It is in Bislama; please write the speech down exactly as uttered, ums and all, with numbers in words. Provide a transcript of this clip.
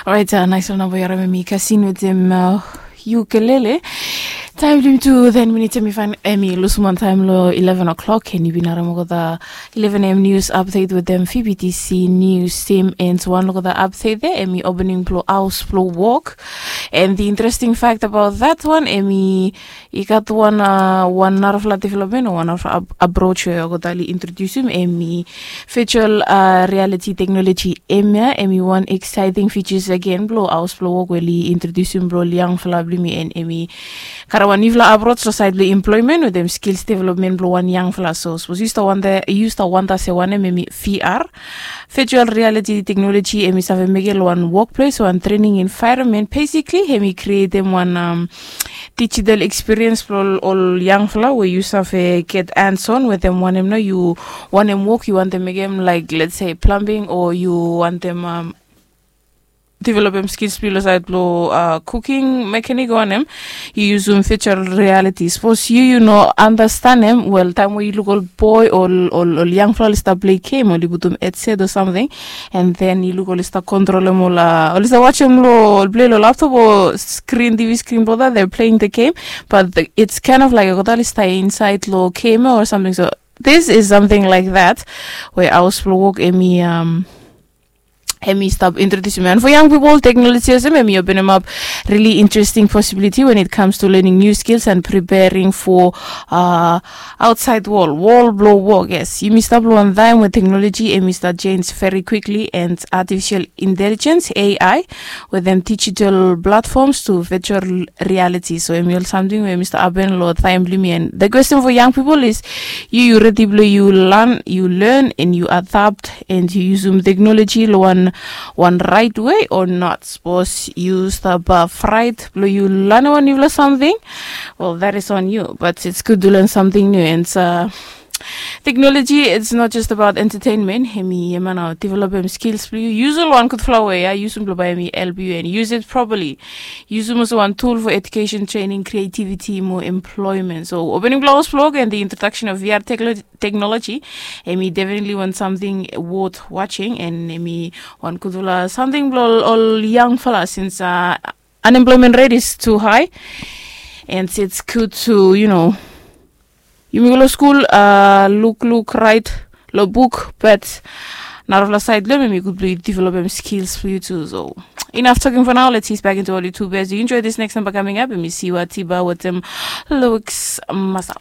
Orait, nais ol namba yu harim em i Kasin wetem Ukelele. Taem blong yumi tu ten minits em i fain, em i lusum wan taem long eleven o'clock, and yu bin harim olgeta eleven a.m. news update wetem Phoebe T C news team. And wan olgeta update there em i opening blong haos blong wok. And the interesting fact about that one em i i gat wan wan narafala development o wan narafala approach we olgeta oli introdusim, em i virtual reality technology. Em ya em i wan exciting features again blong haos blong wok we oli introdusim blong ol yangfala blong yumi, and em i karim wan niufala approach long sait blong employment wetem skills development blong wan yangfala. So sapos yu stap wanta yu stap wanta se wanem em i V R, virtual reality technology, em i save mekem long wan workplace o wan training environment. Basically em i createm wan digital experience blong ol yangfala we yu save get hands on wetem wanem nao yu wantem wok, yu wantem mekem, like, let's say, plumbing, o yu wantem developem skills blong yu long sait blong cooking, mechanic o wanem. Yu yusum virtual reality. Sapos yu yu no andastanem, wel, taem we yu luk ol boe o ol yangfala oli stap plei gem, oli putum headset o samting, and then yu luk oli stap kontrolem ol oli stap wajem long ol plei long laptop o screen, TV screen blong olgeta, they're playing the game, but it's kind of like olgeta oli stap insaed long game o samting. So this is something like that we haos blong wok em i em i stap introdusim. And for young people, technology olsem em i openemap really interesting possibility when it comes to learning new skills and preparing for outside world, world blong wok. Yes, yumi stap long wan taem we technology em i stap change very quickly, and artificial intelligence, A I, wetem digital platforms to virtual reality. So em i ol samting we em i stap hapen long taem blong yumi. And the question for young people is, yu yu redi blong yu lan, yu learn, and yu adapt, and yu yusum technology long wan wan right way o not? Sapos yu stap fraet blong yu lanem wan niufala samting, well, that is on you, but it's good to learn something new. And technology, it's not just about entertainment. Em i, em i nao developem skills blong yu. Yusum long wan gudfala we ya, yusum blong bae em i help yu, and use it properly. Yusum olsem wan tool for education, training, creativity, mo employment. So opening blong haos blong wok and the introduction of V R technology, em i definitely wan samting worth watching, and em i wan gudfala samting blong ol yangfala, since unemployment rate is too high, and it's good to, you know, yumi go long skul, lukluk, raet long buk, but narafala saed blong em em i gud blong yu developem skills blong yu tu. So enough talking for now. Let's ease back into ol YouTube. As you enjoy this next number coming up, em i Siwa Tiba wetem Looks Masap.